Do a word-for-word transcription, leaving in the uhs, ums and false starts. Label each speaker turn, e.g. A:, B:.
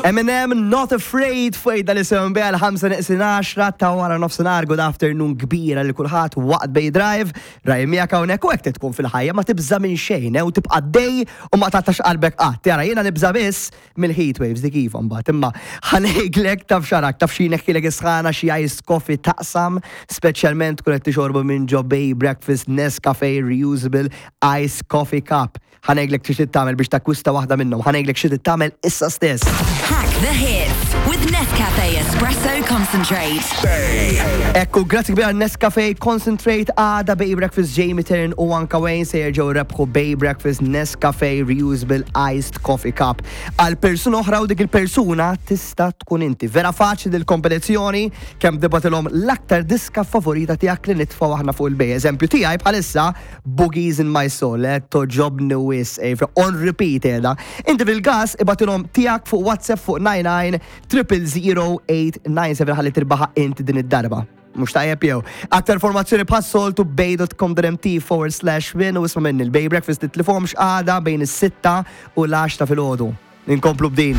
A: Eminem, "Not Afraid", fuq dal-isem bija l-ħamsa neqsin għaxra ta' wara nofsinhar. Good afternoon kbira li kulħadd waqt Bay Drive. Raj miegħek hawnhekk u hekk tkun fil-ħajja, ma tibża minn xejn, eh, u tibqa' dej u ma taqtax qalbek qatt. Jara, jiena nibża biss mill-heat waves dik iva mbagħad, imma ħa ngħidlek, taf xarak, taf xi neħħilek isħana, xi ice coffee taqsam, speċjalment kun qed tixorbu minn ġo Bay Breakfast Nescafe Reusable Ice Coffee Cup. Ħa ngħidlek xi tagħmel biex takkwista waħda minnhom, ħa ngħidlek xi tagħmel issa stess.
B: Hack the hits with Nescafe Espresso Concentrate.
A: Ekku, grazzi kbira Nescafe Concentrate. Għada Bay Breakfast, Jamie Tern u anka Wayne se jerġgħu rebħu Bay Breakfast Nescafe Reusable Iced Coffee Cup għal persuna oħra u dik il-persuna tista' tkun inti. Vera faċli dil-kompetizzjoni, kemm tibgħatilhom l-aktar diska favorita tiegħek li nitfgħu aħna fuq il-Bay. Eżempju tiegħi bħalissa "Boogies in My Soul", eh, togħġobni wisq, eh, on repeat edha. Inti fil-gas ibgħatilhom tiegħek fuq WhatsApp fuq nine nine triple zero eight nine seven ħalli tirbaħa inti din id-darba. Mhux tajjeb jew? Aktar informazzjoni bħas-soltu bay dot com dot M T forward slash win u isma' minni, il-Bay Breakfast titlifhomx għada bejn is-sitta u l-għaxra filgħodu. Inkomplu b'din.